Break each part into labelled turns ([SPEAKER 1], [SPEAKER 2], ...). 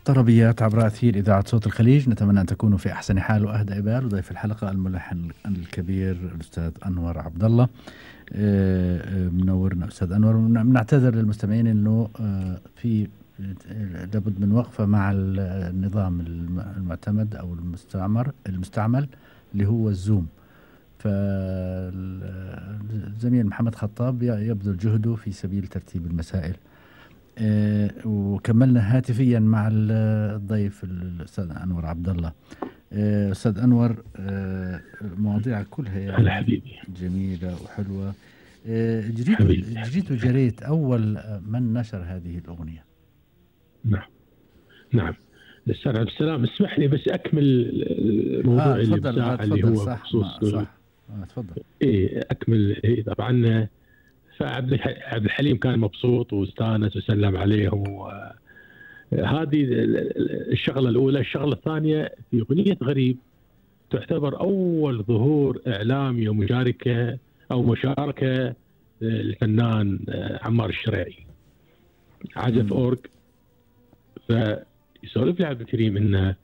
[SPEAKER 1] طربيات عبر أثير إذاعة صوت الخليج. نتمنى أن تكونوا في أحسن حال وأهدى بال. وضيف الحلقة الملحن الكبير الأستاذ أنور عبد الله. منورنا أستاذ أنور. نعتذر للمستمعين أنه في لابد من وقفة مع النظام المعتمد أو المستعمل اللي هو الزوم. فالزميل محمد خطاب يبذل جهده في سبيل ترتيب المسائل. وكملنا هاتفيا مع الضيف الأستاذ أنور عبد الله. أستاذ أنور، مواضيع كلها يعني جميلة وحلوة. جريت أول من نشر هذه الأغنية.
[SPEAKER 2] نعم الأستاذ عبد السلام، اسمح لي بس أكمل الموضوع اللي بتاع اللي هو بخصوص
[SPEAKER 1] تفضل.
[SPEAKER 2] أكمل. طبعا فعبد الحليم كان مبسوط واستانس وسلم عليهم. هذه الشغلة الأولى. الشغلة الثانية، في أغنية غريب تعتبر أول ظهور إعلامي ومشاركة الفنان عمار الشريعي، عزف أورج. فيسولف لي عبد الكريم إنه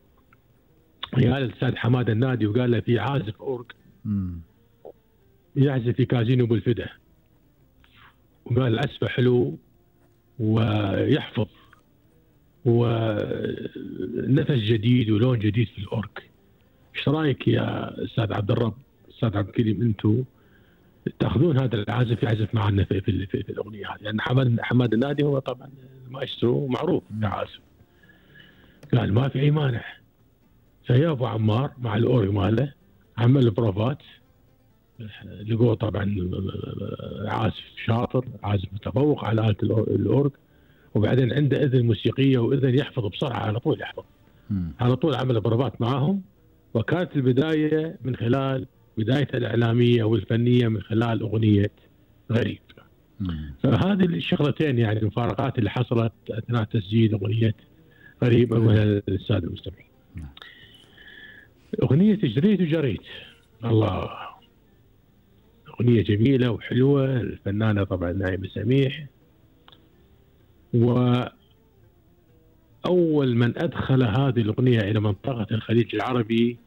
[SPEAKER 2] قال الأستاذ حماد النادي وقال له في عازف أورج يعزف في كازينو بالفدا، وقال العزفه حلو ويحفظ ونفس جديد ولون جديد في الأورج. ايش رايك يا استاذ عبد الرب، استاذ عبد الكريم، انتم تاخذون هذا العازف يعزف معنا في الاغنيه هذه؟ لان حماد النادي هو طبعا مايسترو معروف كعازف. قال ما في اي مانع. فيا ابو عمار مع الأورج ماله عمل بروفات، لقوه طبعا عازف شاطر، عازف متفوق على آلة الأورج، وبعدين عنده اذن موسيقيه واذن يحفظ بسرعه، على طول يحفظ. على طول عمل بروفات معاهم. وكانت البدايه من خلال بدايته الإعلامية والفنية من خلال أغنية غريب. فهذه الشغلتين يعني المفارقات اللي حصلت أثناء تسجيل أغنية غريب أولها للسادة المستمعين. أغنية جريت الله، أغنية جميلة وحلوة، الفنانة طبعا نعيمة سميح. وأول من أدخل هذه الأغنية إلى منطقة الخليج العربي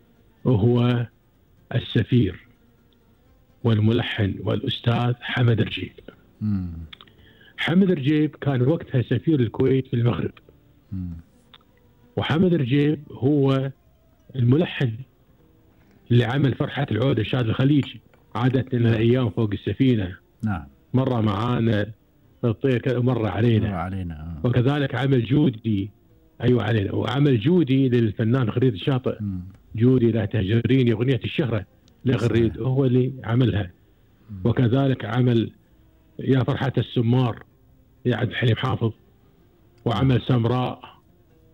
[SPEAKER 2] هو السفير والملحن والأستاذ حمد رجيب. حمد رجيب كان وقتها سفير الكويت في المغرب. وحمد رجيب هو الملحن اللي عمل فرحة العودة شاد الخليجي، عادت لنا أيام فوق السفينة.
[SPEAKER 1] نعم.
[SPEAKER 2] مرة معانا الطير مرة علينا. وكذلك عمل جودي، أيوة علينا، وعمل جودي للفنان خريد الشاطئ. جودي لا تهجريني، أغنية الشهرة لغريد هو اللي عملها. وكذلك عمل يا فرحة السمار يا عبد الحليم حافظ، وعمل سمراء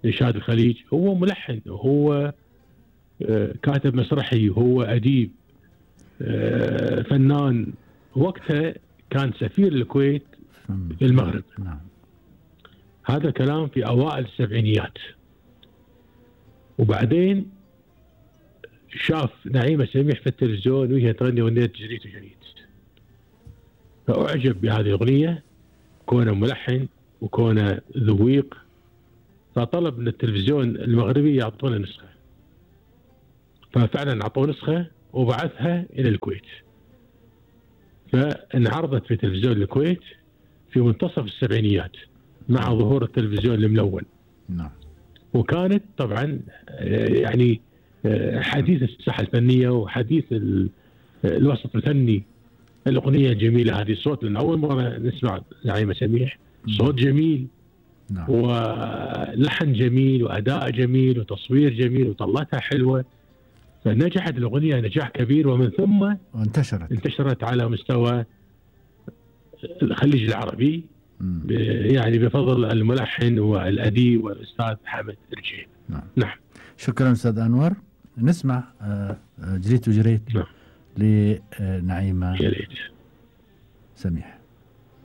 [SPEAKER 2] لشاد الخليج. هو ملحن، هو كاتب مسرحي، هو أديب، فنان. وقتها كان سفير الكويت في المغرب. هذا كلام في أوائل السبعينيات. وبعدين شاف نعيمة سميح في التلفزيون وهي تغني أغنية جريت، فأعجب بهذه الأغنية، كونه ملحن وكونه ذويق. فطلب من التلفزيون المغربي يعطونه نسخة، ففعلا أعطوه نسخة وبعثها إلى الكويت. فانعرضت في تلفزيون الكويت في منتصف السبعينيات مع ظهور التلفزيون الملون. وكانت طبعا يعني حديث الساحة الفنية وحديث الوسط الفني. الأغنية الجميلة هذه، الصوت، لأن أول مرة نسمع نعيمة سميح، صوت جميل ولحن جميل وأداء جميل وتصوير جميل وطلتها حلوة. فنجحت الأغنية نجاح كبير، ومن ثم انتشرت على مستوى الخليج العربي يعني بفضل الملحن والأديب والأستاذ حمد رجيب. نعم.
[SPEAKER 1] شكرا أستاذ أنور. نسمع جريت لنعيمة سميح.